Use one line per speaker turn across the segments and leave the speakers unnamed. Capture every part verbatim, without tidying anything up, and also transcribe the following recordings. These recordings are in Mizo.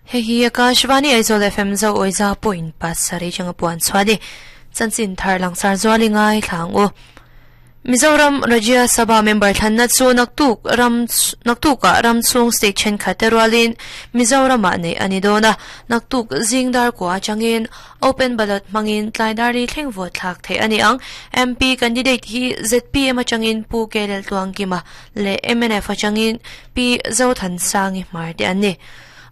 Hei hi Akashvani Aizawl F M zo oiza point pasarih changa puan chhuani chanchin thar langsar zuali ngai thlang u. Mizoram Rajya Sabha member thlanna chu naktuk ram naktuka ram chung state then khaterwalin Mizoram ah nei ani dona naktuk zingdar ko achangin open ballot mangin tlaidari thleng vote thlak thei ani ang. M P candidate hi Z P M achangin Pu Kelel Tuangkima le M N F achangin P Zothan Sangi Marte ani.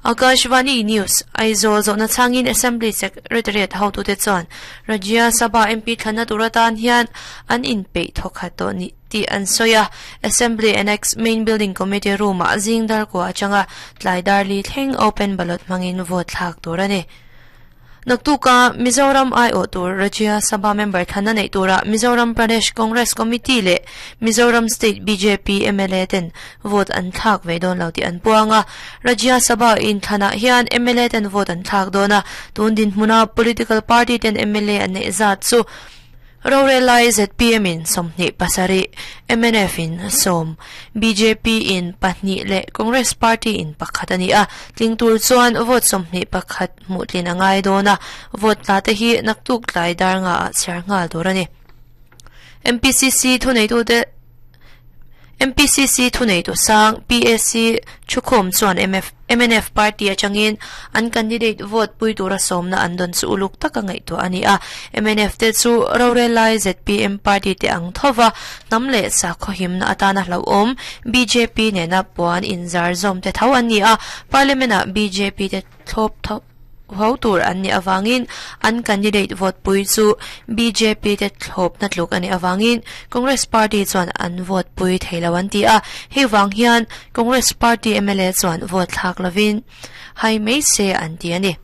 Akashvani News Aizawl zawhna changin Assembly Secretariat hotu te chuan Rajya Sabha M P thlanna turatan hian an inpeih thawkhat tawh ni ti an sawi a. Assembly Annex Main Building Committee room ah zingdar ko atanga tlaidar li thleng open ballot hmangin vote thlak tur ani. Naktuka Mizoram I O tur Rajya Sabha member thlanna nei tura Mizoram Pradesh Congress Committee le Mizoram State B J P M L A ten vote an thlak ve don lo ti an puanga. Rajya Sabha in thlana hian M L A ten vote an thlak dona tun din hmuna political party ten M L A an nei zat chu Rorelai Z P M in somni pasari, M N F in som, B J P in pahnih le Congress Party in pakhat ani a. Tlingtur chuan vote somni pakhat mutlin angai dona vote tla te hi naktuk tlai dar nga a chhiar ngal tur ani. M P C C thunei tu te M P C C thunei tu sang P A C thukhawm chuan M F M N F party atangin an candidate vote pui tura sawmna an dawn chu uluk taka ngaihtuah ani a. M N F te chu Rorelai Z P M party te ang thova hnam leh sakhaw himna atana hlauhawm B J P nena puan inzar zawm te tho an ni a. Parliament ah B J P te thlawp tho ho tur an ni awangin an candidate vote pui chu B J P te thlawp na tluk ani awangin Congress Party chuan an vote pui theilo an ti a. Hei wang hian Congress Party M L A chuan vote thlak lovin hai mai se an ti ani.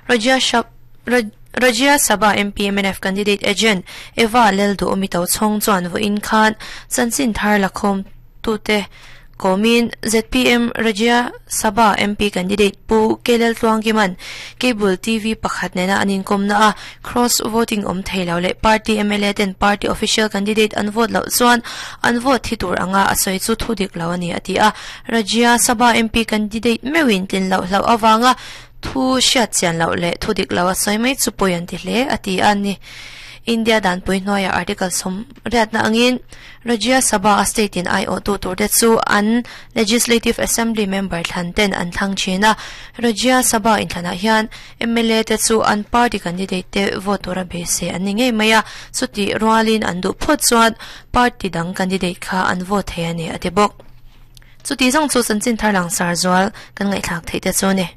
Rajya Rajya Sabha M P M N F candidate agent Eva Leldu Omito Chong chuan vo in khan chanchin thar lakhom tu te Komin Z P M Rajya Sabha M P candidate Pu Kelel Tluangkiman Cable T V pakhat nena anin komna a cross voting om theilo le party M L A ten party official candidate an vote lo chuan an vote thi tur anga asoi chu thudik lo ani ati a. Rajya Sabha M P candidate mewin tin lo hlo awanga thu hriat chian lo le thudik lo asoi mai chu poi an ti hle ati ani. India dan pui hnuaia article som riatna angin Rajya Sabha state in I O tu tur te chu an Legislative Assembly member thlan ten an thlang thina. Rajya Sabha in thlana hian M L A te chu an party candidate te vote tura be se an ni ngei mai a. Chuti rualin an duh phawt chuan party dang candidate kha an vote thei ani ati bawk. Chuti zawng chu chanchin thar langsar zual kan ngaihthlak theih te chu ni.